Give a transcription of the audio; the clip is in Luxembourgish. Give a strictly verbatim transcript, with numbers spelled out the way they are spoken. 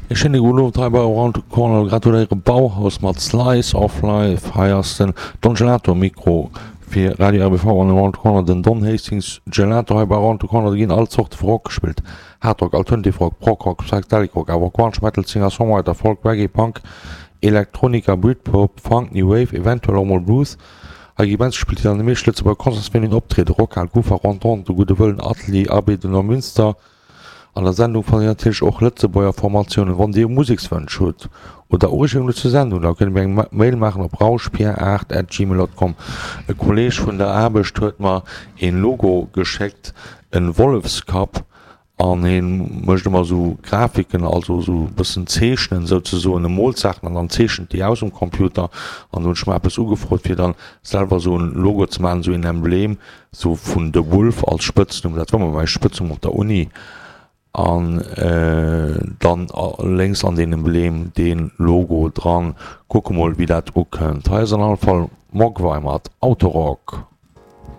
E schéine gudden Owend hei bei Around the Corner. Gratuléiere Bauhaus mat Slice of Life. Hei ass den Don Gelato um Mikro fir Radio R B V an Around the Corner. Den Don Hastings Gelato hei bei Around the Corner. Do ginn all Zorte vu Rock gespillt. Hard Rock, Alternative Rock, Prog Rock, Psychedelic Rock, awer och Grunge, Metal, Singer Songwriter, Folk, Reggae, Punk, Electronica, Britpop, Funk, New Wave, eventuell och mol Blues. Hei gi Bands gespillt, déi an de meeschte Lëtzebuerger Concertsvenuen optrieden, Rockhal, Kufa, Rentente, De Gudde Wëllen, Atelier, Abbé de Neumünster. An der Sendung fannt Dir natierlech och Lëtzebuerger Formatiounen. Wann Dir Musekswënsch hutt oder Ureegungen zur Sendung, da kënnt Dir mir eng Mail maachen op rauschpier aacht at gmail dot com. E Kolleeg vun der Aarbecht huet mer een Logo geschéckt, en Wollefskapp, an hien mécht ëmmer esou Grafiken, also esou e bëssen Zeechnen souzesoen, e moolt Saachen an dann zeechent déi aus um Computer. An do hunn ech mer eppes ugefrot fir dann selwer esou en Logo ze maachen, esou een Emblem esou vun The Wolf als Spëtznumm, dat war mol mäi Spëtznumm op der Uni, an dann lénks an deen Emblem deen Logo dran. Kucke mol wéi dat ukënnt. Hei ass an alle Fall Mogwai mat Autorock.